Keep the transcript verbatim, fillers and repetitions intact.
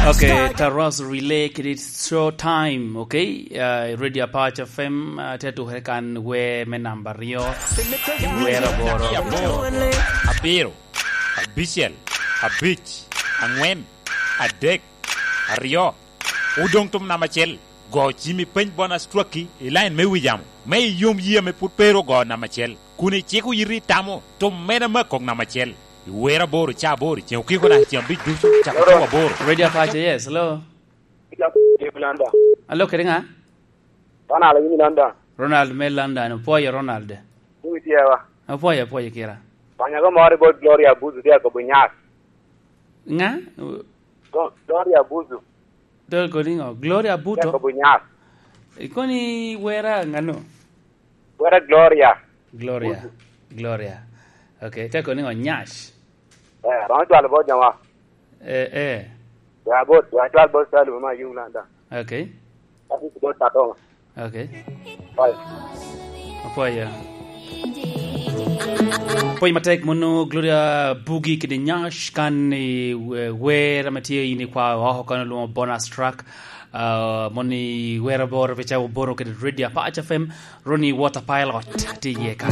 Okay, Taros Relay kede It's Show Time, okay? Uh, Radio Apac F M, uh, te tukere kan we me namba aryo, wer aboro. Abiro, abicel, abic, angwen, adek, aryo. Odoŋ tum namba acel. Go cimi peny bonus twaki i line me wi yamo. Me iyom yie ame pwod pe ru ogo namba acel. Kun iciko yiti itamo tum mene me akok namba acel. I wer aboro, ca aboro, ceŋ okiko naka ceŋ abic ducu, cako cawa aboro. Radio Apac, yes, hello. Alo, kede ŋa? Ronald, in i London. Ronald me London, opwoyo Ronald. Iwi tye wa. Opwoyo, opwoyo kira. Panya go moro i bot Gloria Buzu, tye akobo nyar. Ŋa? Go-, Gloria Buzu. Dol kodi ŋo? Gloria Buto? Tye akobo nyar. Ikoni wera ŋano? Wera Gloria. Gloria. Buzu. Gloria. Okay, tye kodi ŋo? Nyash. Eh, romo cwalo bot jama. Eh, eh. Ya bot, ya cwal bot Salu ma yung London. Okay. Ati bot Tatoma. Okay. Bye. Apwoyo. Pwony matek mono Gloria Bugi kede Nyash kan i we-, wer ame tye in ikwao oko kan olwongo bonus track. Ah, moni wer aboro pe cawa aboro kede Radio Apac F M, Ronnie Water Pilot tye iye kan.